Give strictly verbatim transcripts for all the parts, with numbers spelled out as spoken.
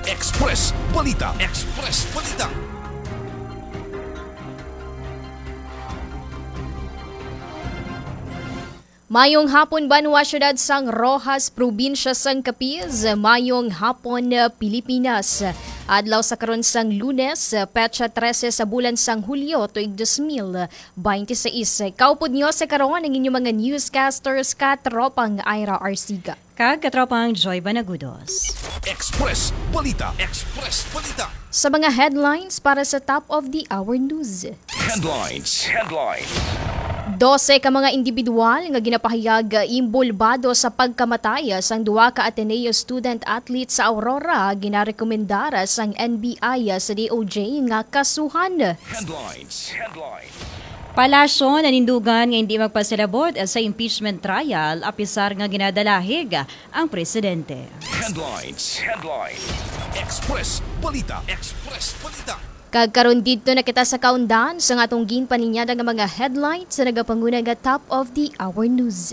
Express Balita. Express Balita. Mayong hapon, banwa, siyudad sang Roxas, probinsya sang Capiz. Mayong hapon, Pilipinas. Adlaw sa karon sang Lunes, petsa trese sa bulan sang Hulyo, tuig dos mil bente seis. Kaupod niyo sa karon ang inyong mga newscasters, Katropang Ira Arsiga. Kag Katropang Joy Banagudos. Express Balita. Express Balita. Sa mga headlines para sa top of the hour news. Headlines. Headlines. Dose ka mga individual nga ginapahayag inbolbado sa pagkamatay sang duha ka Ateneo student athlete sa Aurora ginarekomendar sang N B I sa D O J nga kasuhan. Headlines. Headlines. Palasyo nanindugan nga hindi magpasilabot sa impeachment trial apisar nga ginadalahig ang presidente. Headlines. Headlines. Express Balita. Express Balita. Kag karon didto na kita sa kaundan sang atong ginpaninyada nga mga headlines sa nagapanguna nga top of the hour news.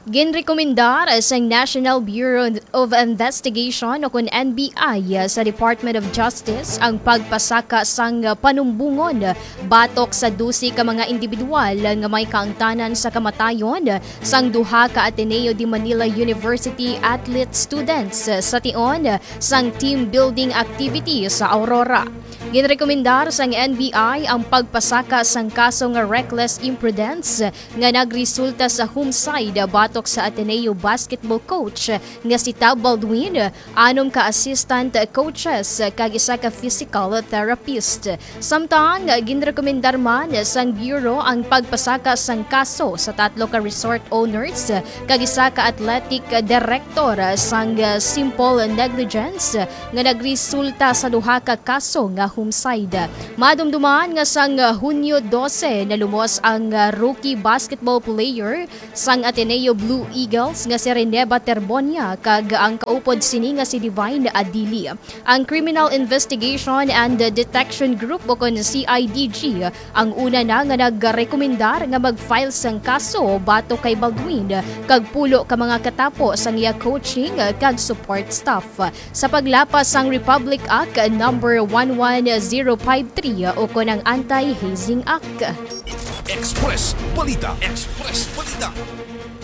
Ginrekomendar sang National Bureau of Investigation o kon N B I sa Department of Justice ang pagpasaka sang panumbongon batok sa dose ka mga individual nga may kaangtanan sa kamatayon sang duha ka Ateneo de Manila University athlete students sa tion sang team building activity sa Aurora. Ginrekomendar sang N B I ang pagpasaka sang kaso nga reckless imprudence nga nagresulta sa homicide batok sa Ateneo basketball coach nga si Tab Baldwin, anom ka assistant coaches, kag isa ka physical therapist. Samtang ginrekomendar man sang Bureau ang pagpasaka sang kaso sa tatlo ka resort owners kag isa ka athletic director sang simple negligence nga nagresulta sa duha ka kaso nga homicide. Madumduman nga sang Hunyo dose nalumos ang rookie basketball player sang Ateneo Blue Eagles nga si Reneba Terbonia kag ang kaupod sini nga si Divine Adili. Ang Criminal Investigation and Detection Group o kon C I D G ang una na nga nagrekomendar nga mag-file sang kaso batok kay Baldwin kag pulo ka mga katapo sang iya coaching kag support staff. Sa paglapas sang Republic Act number one one zero five three o kon ang Anti-Hazing Act. Express Balita. Express Balita.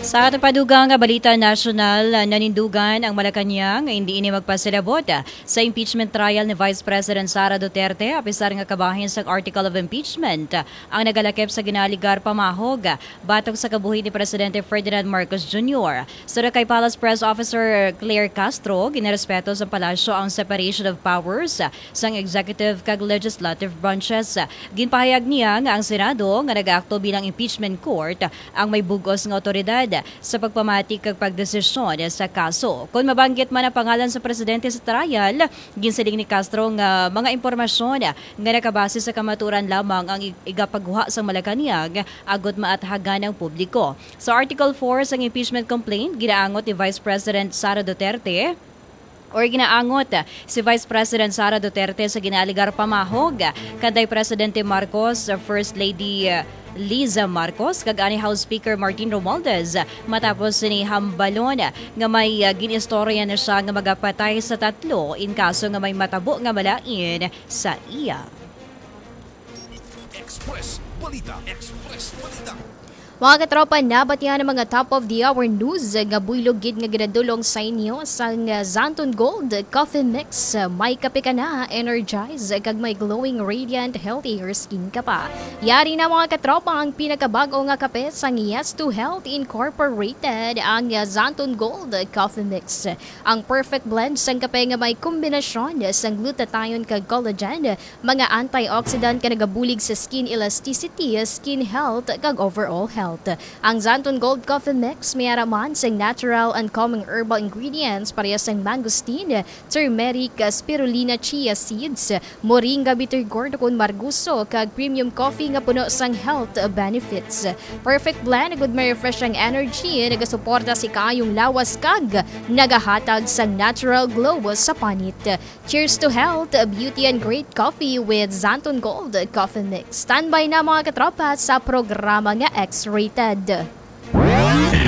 Sa aton padugang nga balita nasyonal, nanindugan ang Malacañang nga hindi ini magpasilabot sa impeachment trial ni Vice President Sara Duterte, apisar nga kabahin sang Article of Impeachment ang nagalakip sa ginaaligar pamahog batok sa kabuhi ni Presidente Ferdinand Marcos Junior. Suno kay Palace Press Officer Claire Castro, ginarespeto sa palasyo ang separation of powers sang executive kag legislative branches. Ginpahayag niya nga ang Senado, nga nagaakto bilang impeachment court, ang may bug-os nga awtoridad sa pagpamati kag pagdesisyon sa kaso. Kon mabanggit man ang pangalan sa presidente sa trial, ginsiling ni Castro nga mga impormasyon nga nakabase sa kamatuoran lamang ang ig-, igapagguha sa Malacañang agod maathagan ang publiko. Sa Article four sang impeachment complaint, ginaangot ni Vice President Sara Duterte, or ginaangot si Vice President Sara Duterte sa ginaaligar pamahog kanday Presidente Marcos, First Lady Liza Marcos, kag ani House Speaker Martin Romualdez, matapos sini hambalon nga may, ah, gin-istorya na siya nga magapatay sa tatlo in kaso nga may matabo nga malain sa iya. Express Balita. Express Balita. Mga katropa, nabatian ang mga top of the hour news nga buylog gid nga ginadulong sa inyo sang Xanthone Gold Coffee Mix. May kape ka na, energize, kag may glowing, radiant, healthier skin ka pa. Yari na, mga katropa, ang pinakabag-o nga kape sang Yes to Health Incorporated, ang Xanthone Gold Coffee Mix. Ang perfect blend sang kape nga may kombinasyon sang glutathione kag collagen, mga antioxidant nga nagabulig sa skin elasticity, skin health, kag overall health. Ang Xanthone Gold Coffee Mix may ara man sang natural and calming herbal ingredients, pareha sang mangosteen, turmeric, spirulina, chia seeds, moringa, bitter gourd, kon margoso, kag premium coffee nga puno sang health benefits. Perfect blend, good may refreshing energy, nagasuporta sa kaayong lawas, kag nagahatag sang natural glow sa panit. Cheers to health, beauty, and great coffee with Xanthone Gold Coffee Mix. Standby na, mga katropa, sa programa nga X-Ray. Rated.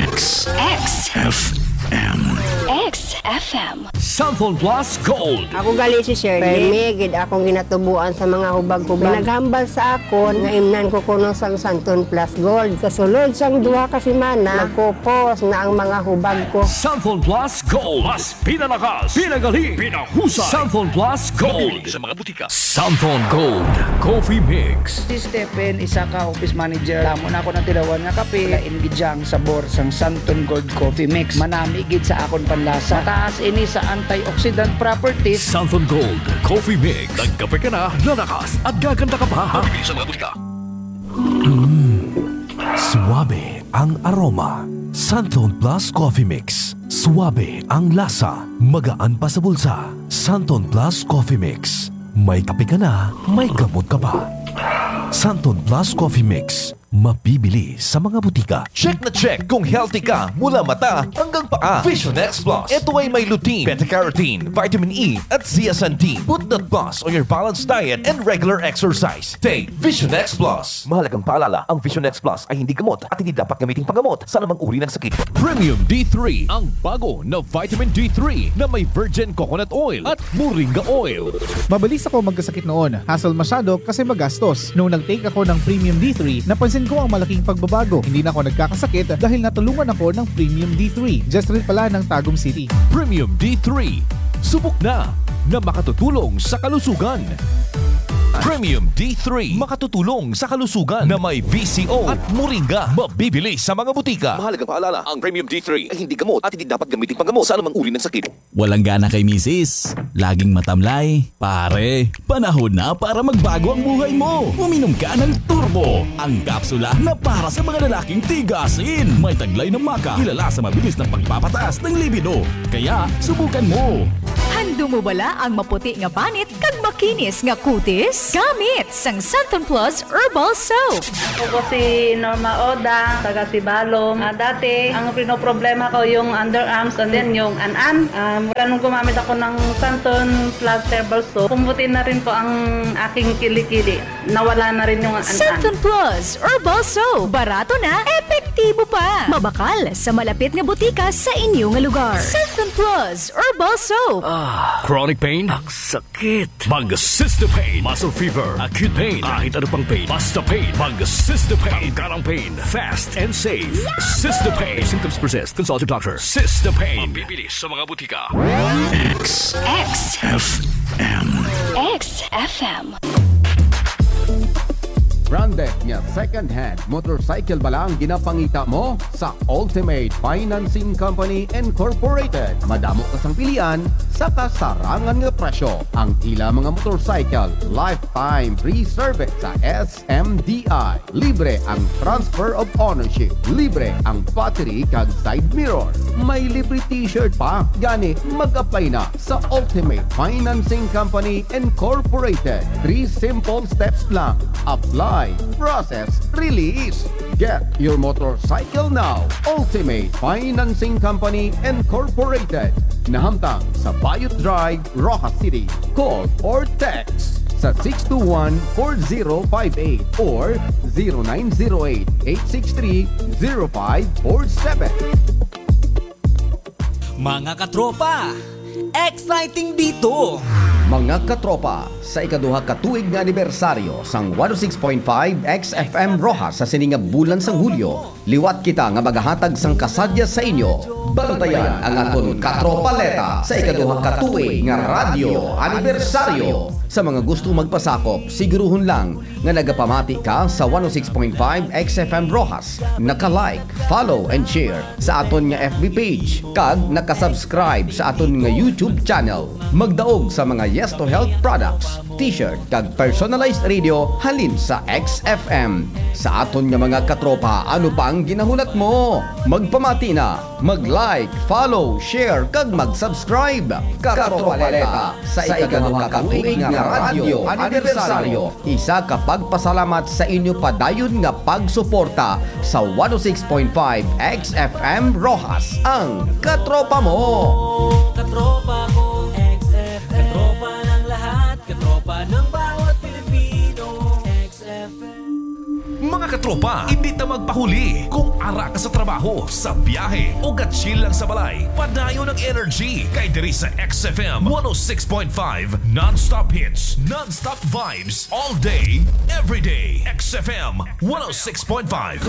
X X F M. X F M. Santhon Plus Gold. Ako gali si Shirley. Permi gid akong ginatubuan sa mga hubag-hubag. May naghambal sa akon nga imnan ko kuno sang Santon Plus Gold. Sa sulod sang duha ka semana, nagkupos na ang mga hubag ko. Santon Plus Gold. Mas pinalakas, pinagali, pinahusay. Santon Plus Gold. Mabibili sa mga butika. Santon Gold Coffee Mix. Si Stephen, isa ka office manager. Damo na ako natilawan nga kape. Lain gid siya ang sabor sang Santon Gold Coffee Mix. Manami gid sa akon panlasa. Mataas ini sa antioxidant properties. Santon Gold Coffee Mix. Nagkape ka na, lalakas at gaganda ka pa. Mabibili sa mga butika. Suabe ang aroma. Santon Plus Coffee Mix. Suabe ang lasa. Magaan pa sa bulsa. Santon Plus Coffee Mix. May kape ka na, may gamot ka pa. Santon Plus Coffee Mix. Mabibili sa mga butika. Check na check kung healthy ka mula mata hanggang paa. Vision X Plus. Ito ay may lutein, beta-carotene, vitamin E, at zeaxanthin. Put that plus on your balanced diet and regular exercise. Take Vision X Plus. Mahalagang paalala, ang Vision X Plus ay hindi gamot at hindi dapat gamiting panggamot sa anumang uri ng sakit. Premium D three, ang bago na vitamin D three na may virgin coconut oil at moringa oil. Mabilis ako magkasakit noon. Hassle masyado kasi magastos. Nung nag-take ako ng Premium D three, napansin ko ang malaking pagbabago. Hindi na ako nagkakasakit dahil natulungan ako ng Premium D three. Just rin pala ng Tagum City. Premium D three. Subok na na makatutulong sa kalusugan. Premium D three. Makatutulong sa kalusugan na may V C O at moringa. Mabibili sa mga butika. Mahalagang paalala, ang Premium D three ay hindi gamot at hindi dapat gamitin panggamot sa anumang uri ng sakit. Walang gana kay misis? Laging matamlay? Pare, panahon na para magbago ang buhay mo. Uminom ka ng Turbo, ang kapsula na para sa mga lalaking tigasin. May taglay na maka, kilala sa mabilis na pagpapataas ng libido. Kaya, subukan mo. Handom mo bala ang maputi nga panit kag makinis nga kutis? Gamit sang Santon Plus Herbal Soap. Ako po si Norma Oda, taga Sibalom. Ah, dati, ang pinoproblema ko yung underarms and then yung an-an. Um, wala nung gumamit ako ng Santon Plus Herbal Soap, pumuti na rin po ang aking kilikili. Nawala na rin yung an-an. Santon Plus Herbal Soap. Barato na, epektibo pa. Mabakal sa malapit nga butika sa inyo nga lugar. Santon Plus Herbal Soap. Ah, chronic pain? Ang sakit. Mag Sistopain. Muscle fever, acute pain, kahit ano pang pain, basta pain. Mag Sistopain. Tanggal ang pain, fast and safe. Sistopain. If symptoms persist, consult your doctor. Sistopain. Mabibili sa mga butika. X X F M. X F M. Branded nga second-hand motorcycle bala ang ginapangita mo? Sa Ultimate Financing Company Incorporated, madamo ka sang pilian sa kasarangan nga presyo. Ang ila mga motorcycle, lifetime free service sa S M D I. Libre ang transfer of ownership. Libre ang battery kag side mirror. May libre t-shirt pa. Gani, mag-apply na sa Ultimate Financing Company Incorporated. Three simple steps lang. Apply, process, release. Get your motorcycle now. Ultimate Financing Company Incorporated. Nahamtang sa Bayot Drive, Roxas City. Call or text sa six two one, four zero five eight or zero nine zero eight, eight six three, zero five four seven. Mga katropa, exciting dito! Mga katropa, sa ikaduha ka tuig nga anibersaryo sang one oh six point five X F M Roxas sa sini nga bulan sang Hulyo, liwat kita nga magahatag sang kasadya sa inyo. Bantayan ang aton Katropaleta sa ikaduha ka tuig nga radyo anibersaryo. Sa mga gusto magpasakop, siguruhon lang nga nagapamati ka sa one oh six point five X F M Roxas, naka-like, follow, and share sa aton nga F B page, kag naka-subscribe sa aton nga YouTube channel. Magdaog sa mga Yes to Health products, t-shirt, kag personalized radio halin sa X F M. Sa aton nga mga katropa, ano pa ang ginahulat mo? Magpamati na! Mag-like, follow, share, kag mag-subscribe. Katropaleta, sa ikaduha ka tuig nga radyo anibersaryo, isa ka pagpasalamat sa inyo padayon nga pagsuporta sa one oh six point five X F M Roxas, ang katropa mo. Katropa ko, X F M. Katropa ng lahat, katropa ng bawat Pilipino, X F M. Mga Katropa, hindi ta magpahuli. Kung ara ka sa trabaho, sa biyahe, o ga-chill lang sa balay, padayon ang energy kay diri sa X F M one oh six point five Non-Stop Hits, Non-Stop Vibes, all day, every day. X F M one oh six point five.